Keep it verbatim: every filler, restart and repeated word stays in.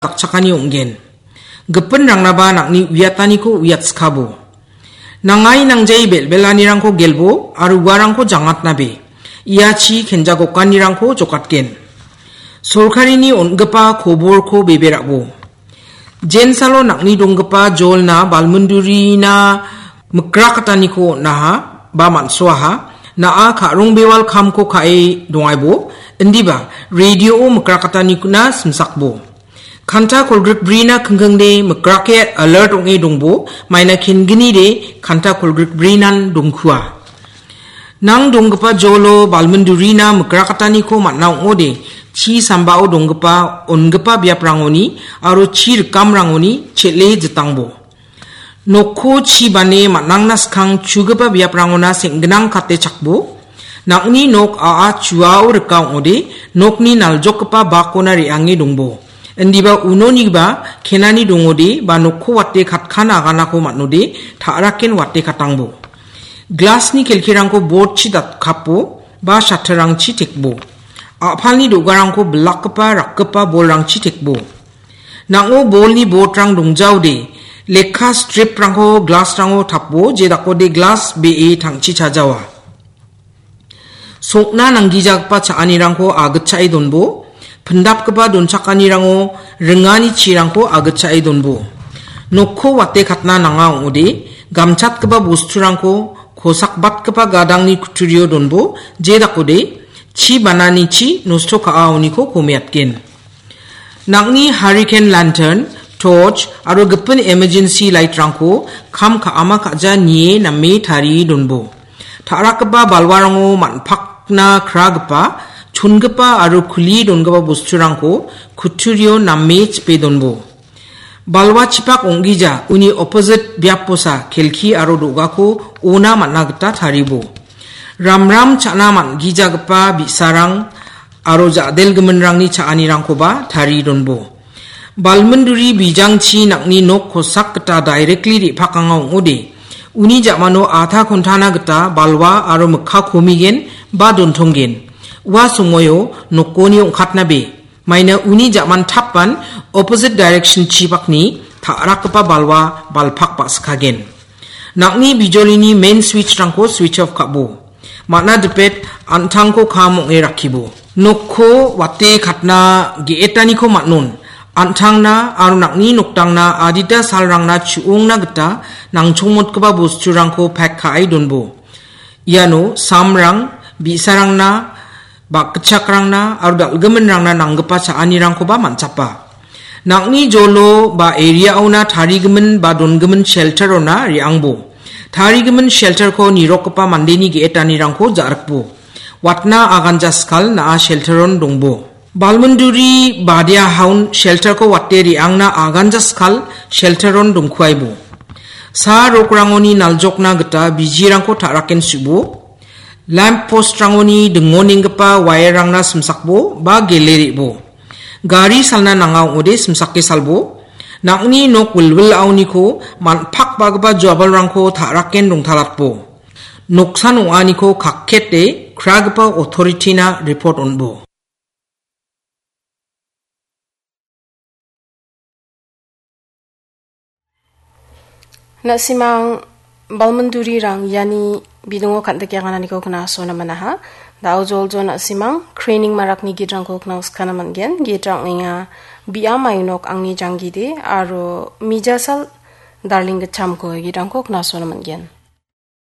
dakchakani ong·gen. Gipinrangraba nang·ni uiataniko uiatskabo. Nangai nangjai bel·belanirangko gelbo aro uarangko jangatnabe. Ia chi kenjagokanirangko jokatgen. Sorkarini on·gipa koborko bebe ra·bo. Jensalo nang·ni donggipa jolna balmindurina mikrakataniko on·aha ba man·soaha. Na·a ka·rong bewal kamko ka·e dongaibo, indiba radio-o mikrakataniko na simsakbo. Kanta kolgrikbrina kingkingde mikrake alert ong·e dongbo, maina kengnide kanta kolgrikbrinan dongkua. Nang donggipa jolo balmindurina mikrakataniko man·a ong·ode, chi sambao donggipa on·gipa biaprangoni aro chi rikamrangoni chel·e jitangbo. Nokko chi bane man·angna skang chugipa biaprangona seng·ginang kate chakbo. Nang·ni nok a·a chuao rika ong·ode, nokni naljokgipa bakona re·ange dongbo. Indiba unonigiba kenani dongode ba nokko wate katkan aganako man·ode, ta·raken wate katangbo. Glasni kelkirangko bordchi datkapo ba shatterrangchi tekbo. A·palni do·garangko bilakgipa rakgipa bolrangchi tekbo. Nang·o bolni bordrang dongjaode, lekka striprangko glasrango tapo, jedakode glas be·e tangchi chajawa. Sokna nanggijagipa cha·anirangko agitchae donbo, pindapgipa donchakanirango ringani chirangko agitchae donbo. Nokko wate katna nanga ong·ode, gamchatgipa bosturangko kosakbatgipa gadangni kutturio donbo, jedakode chi bananichi nosto ka·aoniko komeatgen. Nang·ni hurricane lantern, torch aro gipin emergency light-rangko kam ka·ama ka·ja nie name tarie donbo. Ta·rakgipa balwarango man·pakna kragipa, chongipa aro kulie dongipa bosturangko kutturio name chipe donbo. Balwa chipak ong·gija uni opposite biaposa kelki aro do·gako ona man·a gita taribo. Ramram cha·na man·gijagipa bi·sarang aro ja·delgiminrangni cha·anirangkoba tarie donbo. Balminduri bijangchi nang·ni nok kosak gita directly re·pakanga ong·ode, uni ja·mano adha kontana gita balwa aro mikka komigen ba dontonggen. Ua somoio nokoni ong·katnabe, maina uni ja·man tapan opposite direction chibakni ta·rakgipa balwa balpak ba·sikagen. Nang·ni bijolini main switch-rangko switch off ka·bo. Man·a dipet an·tangko kam ong·e rakkibo. Nokko wate katna ge·etaniko man·on. An·tangna aro nang·ni noktangna adita salrangna chu·ongna gita nangchongmotgipa bosturangko pack ka·e donbo. Iano samrang, bi·sarangna, bakgitchakrangna aro dal·giminrangna nanggipa cha·anirangkoba man·chapa. Nang·ni jolo ba area-ona tarigimin ba dongimin shelter-ona re·angbo. Tarigimin shelter-ko nirokgipa mandeni ge·etanirangko ja·rikbo. Watna aganja skal na·a shelter-on dongbo. Balminduri badia haun shelter-ko wate re·angna aganja skal shelter-on dongkuaibo. Sa rokrangoni naljokna gita bijirangko ta·raken su·bo. Lamp post-rangoni dingonenggipa wire-rangna simsakbo ba gele re·bo. Gari salna nanga ong·ode simsake salbo. Nang·ni nok wilwilaoniko man·pakbagipa joabalrangko ta·raken dongtalatbo. Noksan ong·aniko kakkete kragipa authority-na report on·bo. Na·simang balmindurirang iani bidingo kan·dike angananiko knasona manaha. Da·o joljo na·simang craning marakni gitrangko knauskana man·gen. Gitra ong·enga Biam Ainok Angni Janggide aro Mijasal Darling Gitchamko gitrangko knasona man·gen.